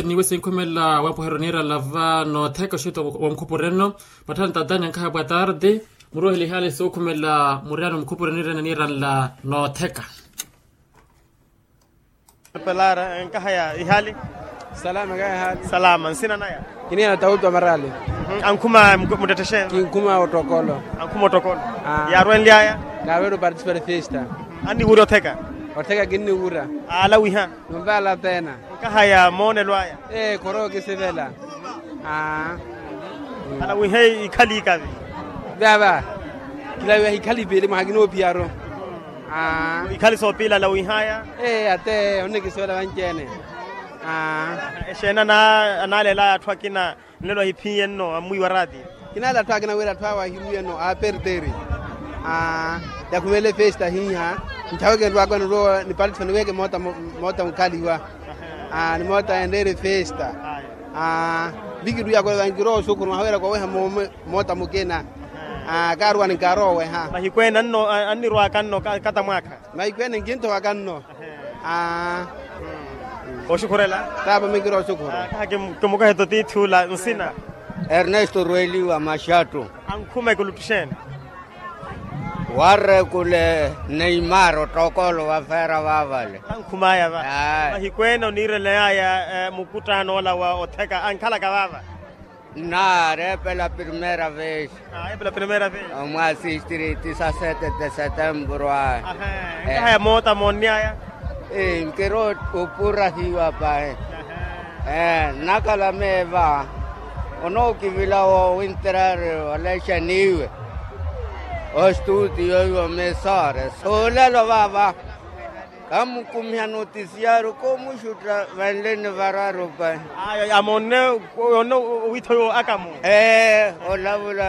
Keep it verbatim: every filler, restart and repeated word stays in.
Niwe sinkhumelela wampuheryo niiranla va nootheka oxito wa mukhupureno. Matthani tatani ankhaha pwa tarde. Muruwehele ihaali sinkhumelela muriyano mukhupureno niiranla nootheka. Pelara nkahaya ihaali. Salama nkahaya ihaali. Salama nsina naya. Kiniya na tawutu wa marali. Ankhuma muttettexe. Kinkhuma ottokolo. Ankhuma ottokolo. Yaarwenlyaya. Kaarwele opartisipari festa. Anniwura otheka. Otheka kinniwura. Aala wiha. Numvaala pena. Nkahaya moonelo aya. Ee khoro kisivela. Aa. Ala wihe ikhali ikavi. Vava. Kilaviha ikhali pili mwaha kinoopiyaro. Aa. Ikhali soopila ala wihaya. Ee ate onnikisivela vanci-ene. Aa. Exeeni anaalelaya atthu akina nlelo ahiphiye nno ammwiiwa raati. Kinaala atthu akina wira atthu awo ahiruwiye nno aaperteri. Aa. Yakhumele festa hiiha. Nthaweke nrwakwe nirwo nipalitho niweke moota mukhaliwa. Aa ni moota enreere festa. Aa. Vikiruya kwevankirowa oxukhuru mwaha wira koweha moota mukina. Aa kaaruwani nkaarowa oweha. Mahikweene annirwaka nno kata mwaakha. Mahikweene nkinthowaka nno. Aa. Oxukhurela. Taapa minkira oxukhuru. Kimukoheto tiithula nsina. Ernesto rueliwa maxattu. Ankhuma ekulutthu xeeni. Warrekule neimar ottokolo vafera vavale. Ankhumaya va. Mahikweene oniireleyaya mukuttano ola wa otheka ankhalaka vava. Nnaari epela primera vez. Omwaasistiri tisa sete de setembro a. Nkahaya moota moonnyaya. Nkira opurahiwa pahi. Nnakhala meeva onookivila wowinterari olexa niiwe. Ostutiyo iwo mesore suulelo vava. Kamukumiha notisiyaaru koomuxutta vanleni vararu pahi. Amonne. Owiitho yo akamu. Ee olavula.